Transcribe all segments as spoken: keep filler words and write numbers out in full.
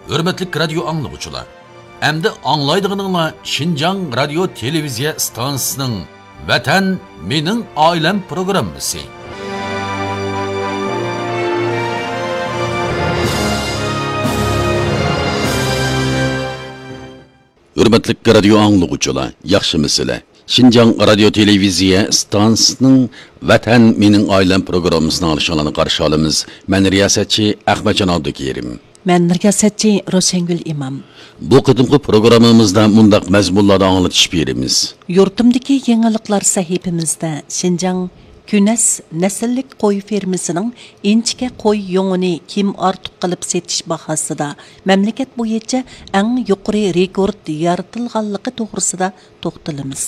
ھۆرمەتلىك رادىيو ئاڭلىغۇچىلار، ئەمدى ئاڭلايدىغىنىڭلار شىنجاڭ رادىيو تېلېۋىزىيە ئىستانسىسىنىڭ ۋەتەن مېنىڭ ئائىلەم پروگراممىسى. ھۆرمەتلىك رادىيو ئاڭلىغۇچىلار، ياخشىمۇسىلەر؟ شىنجاڭ رادىيو تېلېۋىزىيە ئىستانسىسىنىڭ ۋەتەن مېنىڭ ئائىلەم پروگراممىسىنى ئاڭلىشىڭلارنى قارشى ئالىمىز. مەن رىياسەتچى ئەخمەتجان ئابدۇكېرىم. مەن رىياسەتچى روشەنگۈل ئىمام. بۇ قېتىمقى پروگراممىمىزدا مۇنداق مەزمۇنلاردا ئاڭلىتىش بېرىمىز. يۇرتۇمدىكى يېڭىلىقلار سەھىپىمىزدە شىنجاڭ كۈنەس نەسىللىك قوي فېرمىسىنىڭ ئىنچىكە قوي يۇڭىنى كىم ئارتۇق قىلىپ سېتىش باھاسىدا مەملىكەت بويىچە ئەڭ يۇقىرى رېكورت يارىتىلغانلىقى توغرىسىدا توختىلىمىز.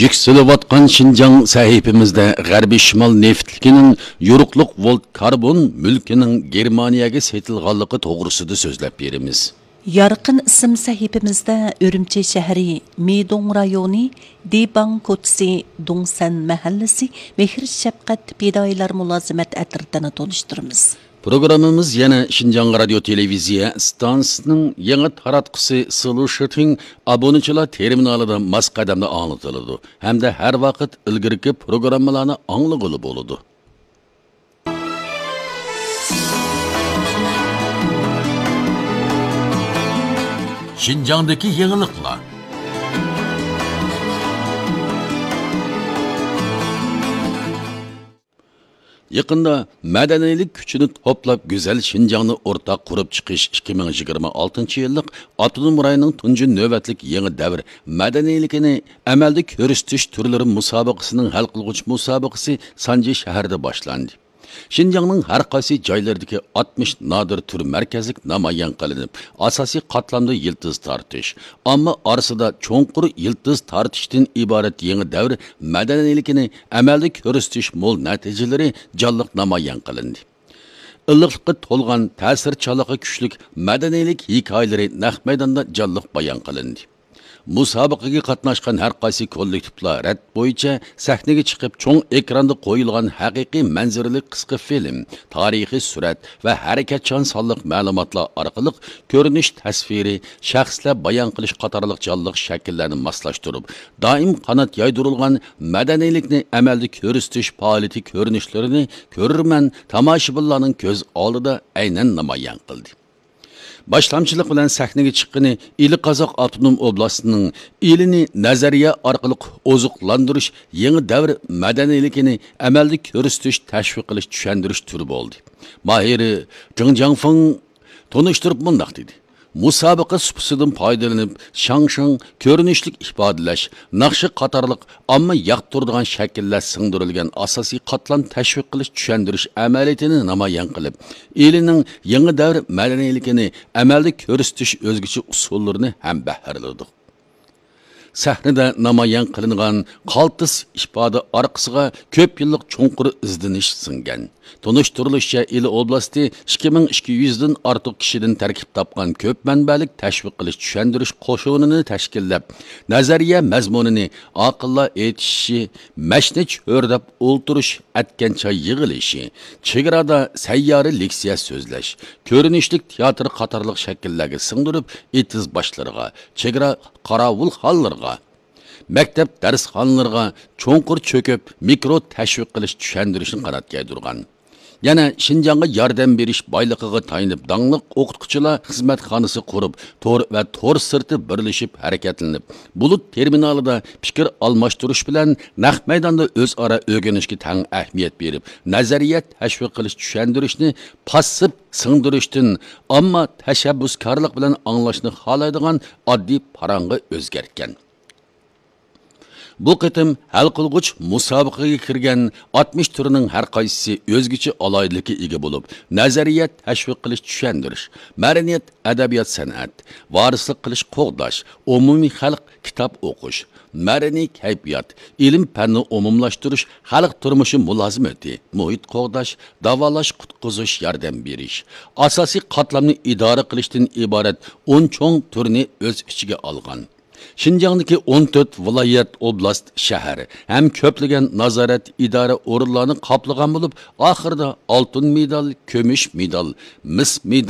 يۈكسىلىۋاتقان شىنجاڭ سەھىپىمىزدە غەربىي شىمال نېفىتلىكىنىڭ يورۇقلۇق ۋولت كاربون مۈلكىنىڭ گېرمانىيەگە سېتىلغانلىقى توغرىسىدا سۆزلەپ بېرىمىز. يارقىن ئىسىم سەھىپىمىزدە ئۈرۈمچى شەھىرى مىدوڭ رايونى دىباڭ كوچىسى دوڭسەن مەھەللىسى مېھىر شەپقەت پىدائىيلار مۇلازىمەت ئەترىتىنى تونۇشتۇرىمىز. پروگراممىمىز يەنە شىنجاڭ رادىيو تېلېۋىزىيە ئىستانسىسىنىڭ يېڭى تاراتقۇسى سىلۇشىتىڭ ئابۇنىچىلار تېرمىنالىدا ماس قەدەمدە ئاڭلىتىلىدۇ ھەمدە ھەر ۋاقىت ئىلگىرىكى پروگراممىلارنى ئاڭلىغىلى بولىدۇ. شىنجاڭدىكى يېڭىلىقلار. يېقىندا مەدەنىيلىك كۈچىنى توپلاپ، گۈزەل شىنجاڭنى ئورتاق قۇرۇپ چىقىش ئىككى مىڭ يىگىرمە ئالتىنچى يىللىق ئاپتونوم رايوننىڭ تۇنجى نۆۋەتلىك يېڭى دەۋر مەدەنىيلىكىنى ئەمەلدە كۆرسىتىش تۈرلىرى مۇسابىقىسىنىڭ ھەل قىلغۇچ مۇسابىقىسى سانجى شەھىرىدە باشلاندى. شىنجاڭنىڭ ھەر قايسى جايلىرىدىكى ئاتمىش نادىر تۈر مەركەزلىك نامايان قىلىنىپ، ئاساسىي قاتلامدا يىلتىز تارتىش، ئامما ئارىسىدا چوڭقۇر يىلتىز تارتىشتىن ئىبارەت يېڭى دەۋر مەدەنىيلىكىنى ئەمەلدە كۆرسىتىش مول نەتىجىلىرى جانلىق نامايان قىلىندى. ئىللىقلىققا تولغان، تەسىرچانلىقى كۈچلۈك مەدەنىيلىك ھېكايىلىرى نەق مەيداندا جانلىق بايان قىلىندى. مۇسابىقىگە قاتناشقان ھەر قايسى كوللېكتىپلار رەت بويىچە سەھنىگە چىقىپ، چوڭ ئېكراندا قويۇلغان ھەقىقىي مەنزىرىلىك قىسقا فىلىم، تارىخىي سۈرەت ۋە ھەرىكەتچان سانلىق مەلۇماتلار ئارقىلىق كۆرۈنۈش تەسۋىرى، شەخسلەر بايان قىلىش قاتارلىق جانلىق شەكىللەرنى ماسلاشتۇرۇپ، دائىم قانات يايدۇرۇلغان مەدەنىيلىكنى ئەمەلدە كۆرسىتىش پائالىيىتى كۆرۈنۈشلىرىنى كۆرۈرمەن، تاماشىبىنلارنىڭ كۆز ئالدىدا ئەينەن نامايان قىلدى. باشلامچىلىق بىلەن سەھنىگە چىققىنى ئىلى قازاق ئاپتونوم ئوبلاستىنىڭ ئىلىنى نەزەرىيە ئارقىلىق ئوزۇقلاندۇرۇش يېڭى دەۋر مەدەنىيلىكىنى ئەمەلدە كۆرسىتىش، تەشۋىق قىلىش، چۈشەندۈرۈش تۈرى بولدى. ماھىرى جېڭ جياڭفېڭ تونۇشتۇرۇپ مۇنداق دېدى: مۇسابىقە سۇپىسىدىن پايدىلىنىپ، شاڭشىڭ، كۆرۈنۈشلۈك ئىپادىلەش، ناخشا قاتارلىق ئامما ياقتۇرىدىغان شەكىللەر سىڭدۈرۈلگەن ئاساسىي قاتلام تەشۋىق قىلىش، چۈشەندۈرۈش ئەمەلىيىتىنى نامايان قىلىپ، ئىلىنىڭ يېڭى دەۋر مەدەنىيلىكىنى ئەمەلدە كۆرسىتىش ئۆزگىچە ئۇسۇللىرىنى ھەمبەھىرلىدۇق. سەھنىدە نامايان قىلىنغان قالتىس ئىپادە ئارقىسىغا كۆپ يىللىق چوڭقۇر ئىزدىنىش سىڭگەن. تونۇشتۇرۇلۇشىچە، ئىلى ئوبلاستى ئىككى مىڭ ئىككى يۈزدىن ئارتۇق كىشىدىن تەركىب تاپقان كۆپ مەنبەلىك تەشۋىق قىلىش، چۈشەندۈرۈش قوشۇنىنى تەشكىللەپ، نەزەرىيە مەزمۇنىنى ئاقىللار ئېيتىشى، مەشنە چۆرىدەپ ئولتۇرۇش، ئەتكەن چاي يىغىلىشى، چېگرادا سەييارە لېكسىيە سۆزلەش، كۆرۈنۈشلۈك تىياتىر قاتارلىق شەكىللەرگە سىڭدۈرۈپ، ئېتىز باشلىرىغا، چېگرا قاراۋۇلخانىلىرىغا، مەكتەپ دەرسخانىلىرىغا چوڭقۇر چۆكۈپ، مىكرو تەشۋىق قىلىش، چۈشەندۈرۈشنى قانات يايدۇرغان. يەنە شىنجاڭغا ياردەم بېرىش بايلىقىغا تايىنىپ، داڭلىق ئوقۇتقۇچىلار خىزمەتخانىسى قۇرۇپ، تور ۋە تور سىرتى بىرلىشىپ ھەرىكەتلىنىپ، بۇلۇت تېرمىنالىدا پىكىر ئالماشتۇرۇش بىلەن نەق مەيداندا ئۆزئارا ئۆگىنىشكە تەڭ ئەھمىيەت بېرىپ، نەزەرىيە تەشۋىق قىلىش، چۈشەندۈرۈشنى پاسسىپ سىڭدۈرۈشتىن، ئامما تەشەببۇسكارلىق بىلەن ئاڭلاشنى خالايدىغان ئاددىي پاراڭغا ئۆزگەرتكەن. بۇ قېتىم ھەل قىلغۇچ مۇسابىقىگە كىرگەن ئاتمىش تۈرنىڭ ھەر قايسىسى ئۆزگىچە ئالاھىدىلىككە ئىگە بولۇپ، نەزەرىيە تەشۋىق قىلىش، چۈشەندۈرۈش، مەدەنىيەت، ئەدەبىيات، سەنئەت، ۋارىسلىق قىلىش، قوغداش، ئومۇمىي خەلق، كىتاب ئوقۇش، مەدەنىي كەيپىيات، ئىلىم پەننى ئومۇملاشتۇرۇش، خەلق تۇرمۇشى مۇلازىمىتى، مۇھىت قوغداش، داۋالاش، قۇتقۇزۇش، ياردەم بېرىش، ئاساسىي قاتلامنى ئىدارە قىلىشتىن ئىبارەت ئون چوڭ تۈرنى ئۆز ئىچىگە ئالغان. شىنجاڭدىكى ئون تۆت ۋىلايەت، ئوبلاست، شەھەر ھەم كۆپلىگەن نازارەت، ئىدارە ئورۇنلارنى قاپلىغان بولۇپ، ئاخىرىدا ئالتۇن مېدال، كۈمۈش مېدال، مىس مېدال،